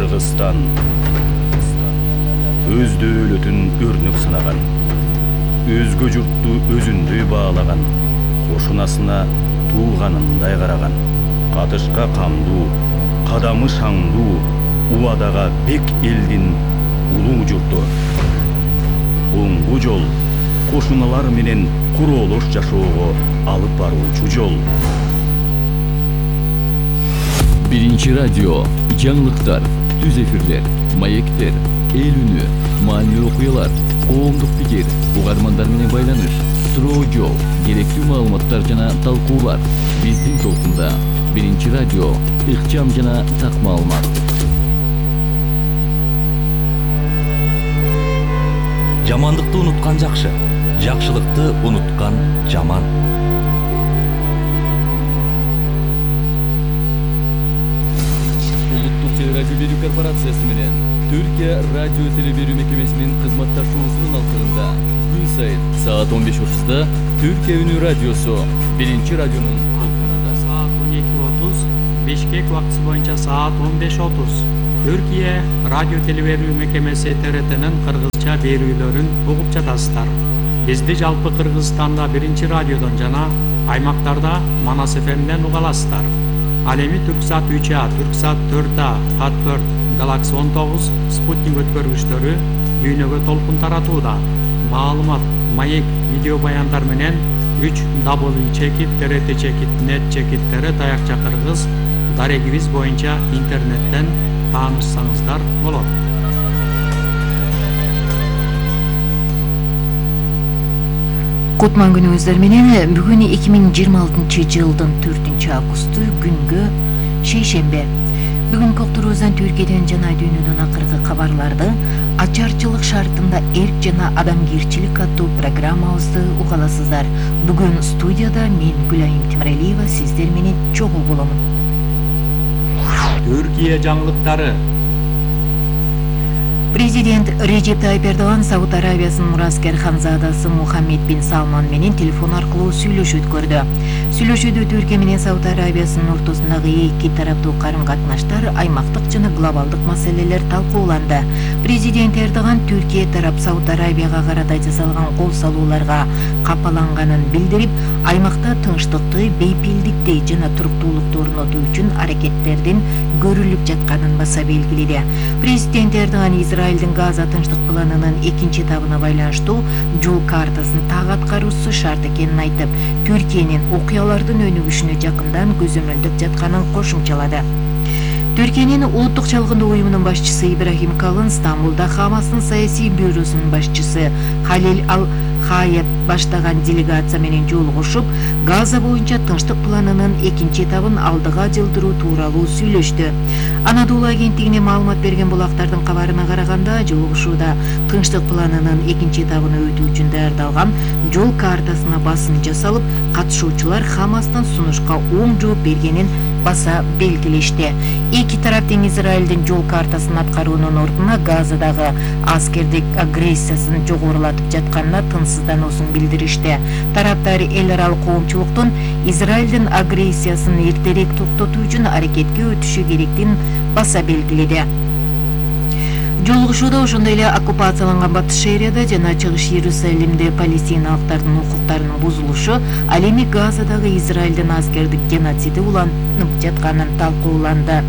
Кыргызстан өз дөөлөтүн өрнөк санаган, өзгө журтту өзүндөй баалаган, кошунасына тууганындай караган, катышка камдуу, кадамы шаңдуу, убадага бек элдин улуу журту. Оңгу жол, кошуналар менен куроолош жашоого алып баруучу жол. Биринчи радио, жаңылыктар, түз эфирлер, маектер, эл үнү, маанилүү окуялар, коомдук пикир, угармандар менен байланыш, суроо жооп, керектүү маалыматтар жана талкуулар. Биздин толкунда Биринчи радио, ыкчам жана так маалымат. Жамандыкты унуткан жакшы, жакшылыкты унуткан жаман. Улуттук телерадио берүү корпорациясы менен Түркия радио телеберүү мекемесинин кызматташуусунун алкагында күн сайын саат 15:30 Түркия үнү радиосу Биринчи радионун Анкарада саат 12:30, Бишкек убактысы боюнча саат 15:30 Түркия радио телеберүү мекемеси ТРТнин кыргызча берүүлөрүн угуп жатасыздар. Бизди жалпы Кыргызстанда Биринчи радиодон жана аймактарда Манас ФМден уга аласыздар. Ал эми Түрксат 3А, Түрксат 4А, Хат4, Галакси 19, Спутник өткөргүчтөрү дүйнөгө толкун таратууда. Маалымат, маек, видео баяндар менен 3w.trt.net таякча кыргыз дарегибиз боюнча интернеттен таанышсаңыздар болот. Кутман күнүңүздөр менен бүгүн 2026 жылдын 4-августу күнгө шейшембе. Бүгүн Коктуруздан Түркияден жана дүйнөдөн акыркы кабарларды ачарчылык шартында эрк жана адамгерчилик аттуу программабызды угаласыздар. Бүгүн студияда мен Гүлайым Темиралиева сиздер менен чогуу боломун. Түркия жаңылыктары. Президент Режеп Тайип Эрдоган Сауд Арабиясынын мураскер ханзадасы Мухаммед бин Салман менен телефон аркылуу сүйлөшүү өткөрдү. Сүйлөшүүдө Түркия менен Сауд Арабиясынын ортосундагы эки тараптуу карым-катнаштар, аймактык жана глобалдык маселелер талкууланды. Президент Эрдоган Түркия тарап Сауд Арабияга карата жасалган кол салууларга капаланганын билдирип, аймакта тынчтыкты, бейпилдикти жана туруктуулукту орнотуу үчүн аракеттердин көрүлүп жатканын баса белгиледи. Президент Эрдоган Израилдин Газа тынчтык планынын экинчи этабына байланыштуу жол картасын так аткаруусу шарт экенин айтып, Түркиянын окуялардын өнүгүшүнө жакындан көзөмөлдөп жатканын кошумчалады. Түркиянын улуттук чалгындоо уюмунун башчысы Ибрахим Калын Стамбулда Хамастын саясий бюросунун башчысы Халил Ал-Хаят баштаган делегация менен жолугушуп, Газа боюнча тынчтык планынын экинчи этабын алдыга жылдыруу тууралуу сүйлөштү. Анадолу агенттигине маалымат берген булактардын кабарына караганда, жолугушууда тынчтык планынын экинчи этабына өтүү үчүн даярдалган жол картасына басым жасалып, катышуучулар Хамастын сунушка оң жооп бергенин баса белгилешти. Эки тарап тең Израилдин жол картасын аткаруунун ордуна Газадагы аскердик агрессиясын жогорулатып жатканына тынчсыздануусун билдиришти. Тараптар эл аралык коомчулуктун Израилдин агрессиясын эртерээк токтотуу үчүн аракетке өтүшү керектигин баса белгиледи. Жолугушууда ошондой эле оккупацияланган Батыш Шаарияда жана Чыгыш Иерусалимде палестиналыктардын укуктарынын бузулушу, ал эми Газадагы Израилдин аскердик геноциди уланып жатканын талкууланды.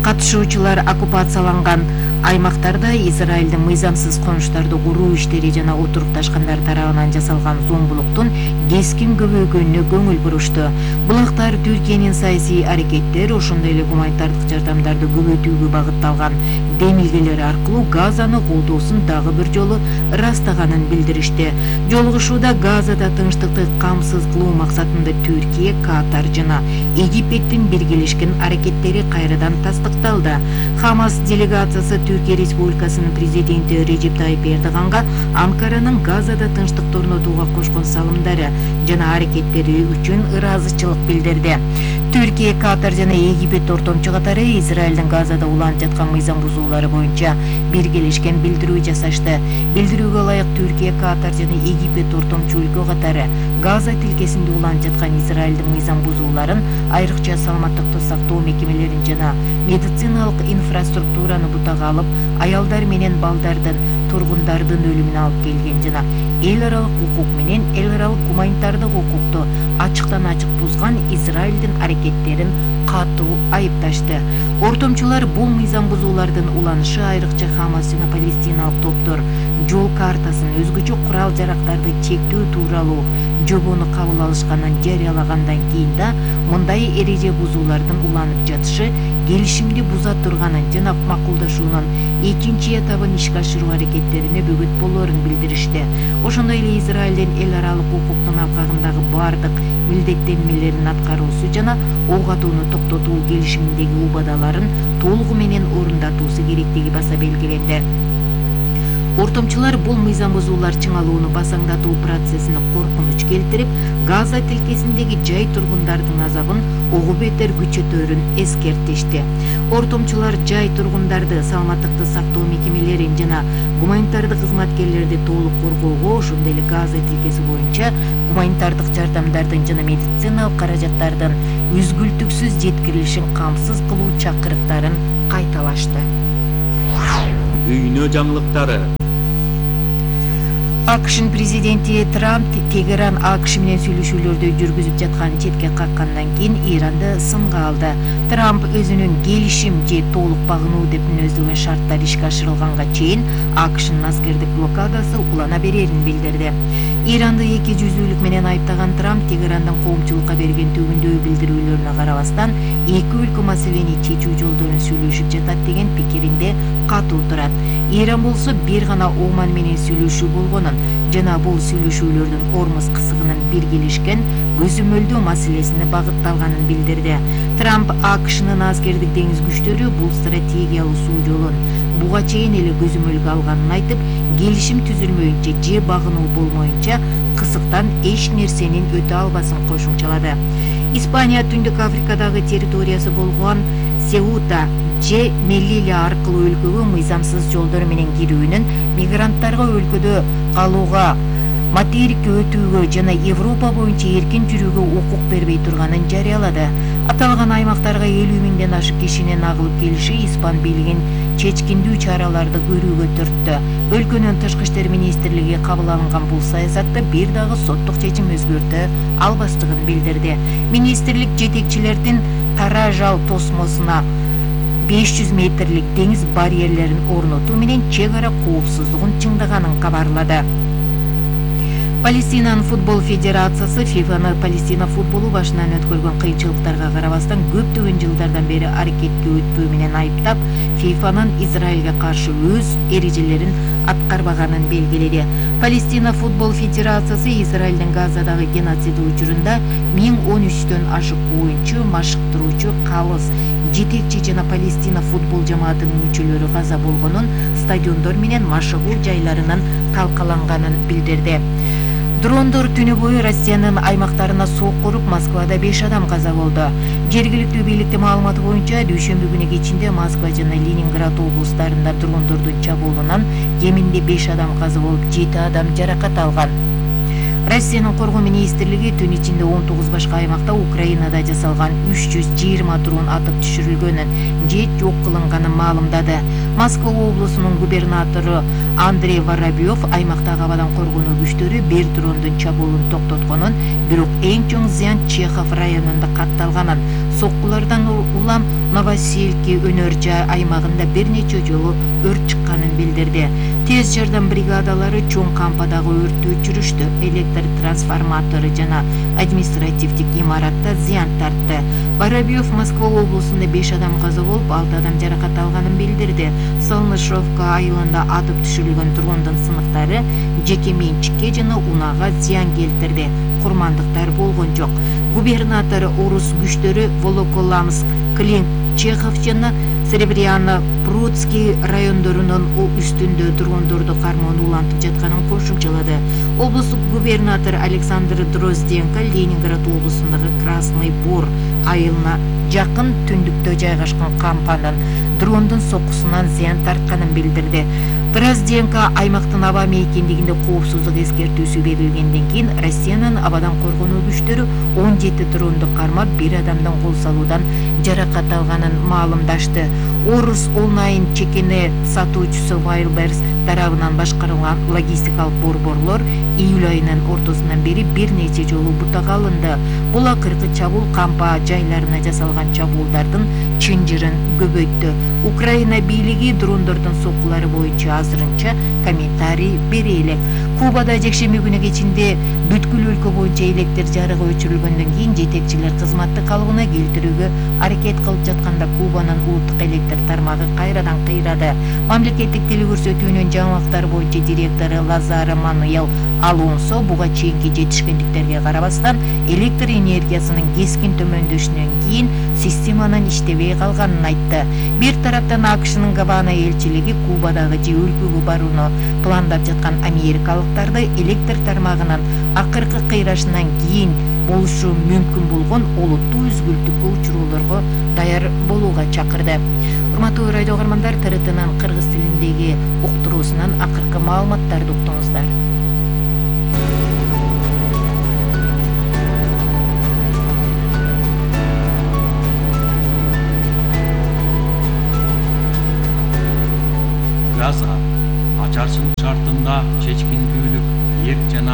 Катышуучулар оккупацияланган аймактарда Израилдин мыйзамсыз конуштарды куруу иштери жана отурукташкандар тарабынан жасалган зомбулуктун кескин көбөйгөнүнө көңүл бурушту. Булактар Түркиянын саясий аракеттер, ошондой эле гуманитардык жардамдарды көбөйтүүгө багытталган демилгелери аркылуу Газаны колдоосун дагы бир жолу ырастаганын билдиришти. Жолугушууда Газада тынчтыкты камсыз кылуу максатында Түркия, Катар жана Египеттин биргелешкен аракеттери кайрадан тастыкталды. Хамас делегациясы Түркия Республикасынын президенти Режеп Тайип Эрдоганга Анкаранын Газада тынчтыкты орнотууга кошкон салымдары жана аракеттери үчүн ыраазычылык билдирди. Түркия, Катар жана Египет ортомчу катары Израилдин Газада уланып жаткан мыйзам бузуулары боюнча биргелешкен билдирүү жасашты. Билдирүүгө ылайык Түркия, Катар жана Египет ортомчу өлкө катары Газа тилкесинде уланып жаткан Израилдин мыйзам бузууларын, айрыкча саламаттыкты сактоо мекемелерин жана медициналык инфраструктураны бутага алып, аялдар менен балдардын, тургундардын өлүмүнө алып келген жана эл аралык укук менен эл аралык гуманитардык укукту ачыктан ачык бузган Израилдин аракеттерин катуу айыпташты. Ортомчулар бул мыйзам бузуулардын уланышы айрыкча Хамас жана палестиналык топтор жол картасын, өзгөчө курал-жарактарды чектөө тууралуу жобону кабыл алышканын жарыялагандан кийин да мындай эреже бузуулардын уланып жатышы келишимди буза турганын жана макулдашуунун экинчи этабын ишке ашыруу аракеттерине бөгөт болоорун билдиришти. Ошондой эле Израилдин эл аралык укуктун алкагындагы бардык милдеттенмелерин аткаруусу жана ок атууну токтотуу келишиминдеги убадаларын толугу менен орундатуусу керектиги баса белгиленди. Ортомчулар бул мыйзам бузуулар чыңалууну басаңдатуу процессине коркунуч келтирип, Газа тилкесиндеги жай тургундардын азабын огу бетер күчөтөөрүн эскертишти. Ортомчулар жай тургундарды, саламаттыкты сактоо мекемелерин жана гуманитардык кызматкерлерди толук коргоого, ошондой эле Газа тилкеси боюнча гуманитардык жардамдардын жана медициналык каражаттардын үзгүлтүксүз жеткирилишин камсыз кылуу чакырыктарын кайталашты. Дүйнө жаңылыктары. АКШнын президенти Трамп Тегеран АКШ менен сүйлөшүүлөрдү жүргүзүп жатканын четке каккандан кийин Иранды сынга алды. Трамп өзүнүн келишим же толук багынуу деп мүнөздөгөн шарттар ишке ашырылганга чейин АКШнын аскердик блокадасы улана берерин билдирди. Иранды эки жүздүүлүк менен айыптаган Трамп Тегерандын коомчулукка берген төгүндөө билдирүүлөрүнө карабастан эки өлкө маселени чечүү жолдорун сүйлөшүп жатат деген пикиринде катуу турат. Иран болсо бир гана Оман менен сүйлөшүү болгонун жана бул сүйлөшүүлөрдүн Ормуз кысыгынын биргелешкен көзөмөлдөө маселесине багытталганын билдирди. Трамп АКШнын аскердик деңиз күчтөрү бул стратегиялуу суу жолун буга чейин эле көзөмөлгө алганын айтып, келишим түзүлмөйүнчө же багынуу болмоюнча кысыктан эч нерсенин өтө албасын кошумчалады. Испания Түндүк Африкадагы территориясы болгон Сеута же Мелилия аркылуу өлкөгө мыйзамсыз жолдор менен кирүүнүн мигранттарга өлкөдө калууга, материкке өтүүгө жана Европа боюнча эркин жүрүүгө укук бербей турганын жарыялады. Аталган аймактарга 50 миңден ашык кишинин агылып келиши испан бийлигин чечкиндүү чараларды көрүүгө түрттү. Өлкөнүн тышкы иштер министрлиги кабыл алынган бул саясатты бир дагы соттук чечим өзгөртө албастыгын билдирди. Министрлик жетекчилердин Таражал тосмосуна 500 метрлик деңиз барьерлерин орнотуу менен чек ара коопсуздугун чыңдаганын кабарлады. Палестинанын футбол федерациясы ФИФАны Палестина футболу башынан өткөргөн кыйынчылыктарга карабастан көптөгөн жылдардан бери аракетке өтпөө менен айыптап, ФИФАнын Израилге каршы өз эрежелерин аткарбаганын белгиледи. Палестина футбол федерациясы Израилдин Газадагы геноцид учурунда 1013төн ашык оюнчу, машыктыруучу, калыс, жетекчи жана Палестина футбол жамаатынын мүчөлөрү каза болгонун, стадиондор менен машыгуу жайларынын талкаланганын билдирди. Дрондор түнү бою Россиянын аймактарына сокку уруп, Москвада 5 адам каза болду. Жергиликтүү бийликтин маалыматы боюнча, дүйшөмбү күнү кечинде Москва жана Ленинград облустарында дрондордун чабуулунан кеминде 5 адам каза болуп, 7 адам жаракат алган. Россиянын коргоо министрлиги түн ичинде 19 башка аймакта Украинада жасалган 320 дрон атып түшүрүлгөнүн же жок кылынганын маалымдады. Москва облусунун губернатору Андрей Воробьев аймактагы абадан коргонуу күчтөрү бир дрондун чабуулун токтотконун, бирок эң чоң зыян Чехов районунда катталганын, соккулардан улам Новосельки өнөр жай аймагында бир нече жолу өрт чыкканын билдирди. Тез жардам бригадалары чоң кампадагы өрттү өчүрүштү. Электр трансформатору жана административдик имаратта зыян тартты. Воробьев Москва облусунда 5 адам каза болуп, 6 адам жаракат алганын билдирди. Солнышовка айылында атып түшүрүлгөн дрондун сыныктары жеке менчикке жана унаага зыян келтирди. Курмандыктар болгон жок. Губернатор орус күчтөрү Волоколамск, Клин, Чехов жана Серебряно, Прудский райондорунун үстүндө дрондорду кармоonu улантып жатканын кошумчалады. Облустук губернатор Александр Дрозденко Ленинград облусундагы Красный Бор айылына жакын түндүктө жайгашкан кампанын дрондун соккусунан зыян тартканын билдирди. Дрозденко аймактын аба мейкиндигинде коопсуздук эскертүүсү берилгенден кийин Россиянын абадан коргонуу күчтөрү 17 дронду кармап, бир адамдын кол салуудан жаракат алганын маалымдашты. Орус онлайн чекене сатуучусу Wildberries тарабынан башкарылган логистикалык борборлор июль айынын ортосунан бери бир нече жолу бутага алынды. Бул акыркы чабуул кампа жайларына жасалган чабуулдардын чынжырын көбөйттү. Украина бийлиги дрондордун соккулары боюнча азырынча комментарий бере элек. Кубада жекшемби күнү кечинде бүткүл өлкө боюнча электр жарыгы өчүрүлгөндөн кийин жетекчилер кызматты калыбына келтирүүгө аракет кылып жатканда Кубанын улуттук электр тармагы кайрадан кыйрады. Мамлекеттик телекөрсөтүүнүн жаңылыктар боюнча директору Лазаро Мануэл Алонсо буга чейинки жетишкендиктерге карабастан электр энергиясынын кескин төмөндөшүнөн кийин системанын иштебей калганын айтты. Бир тараптан АКШнын Гавана элчилиги Кубадагы же өлкөгө барууну пландап жаткан америкалыктарды электр тармагынын акыркы кыйрашынан кийин болушу мүмкүн болгон олуттуу үзгүлтүккө учуроолорго даяр болууга чакырды. Урматтуу радио каармандар, ТРТнын кыргыз тилиндеги уктуруусунан акыркы маалыматтарды уктуңуздар. Газа ачарчылык шартында чечкиндүүлүк, эрк жана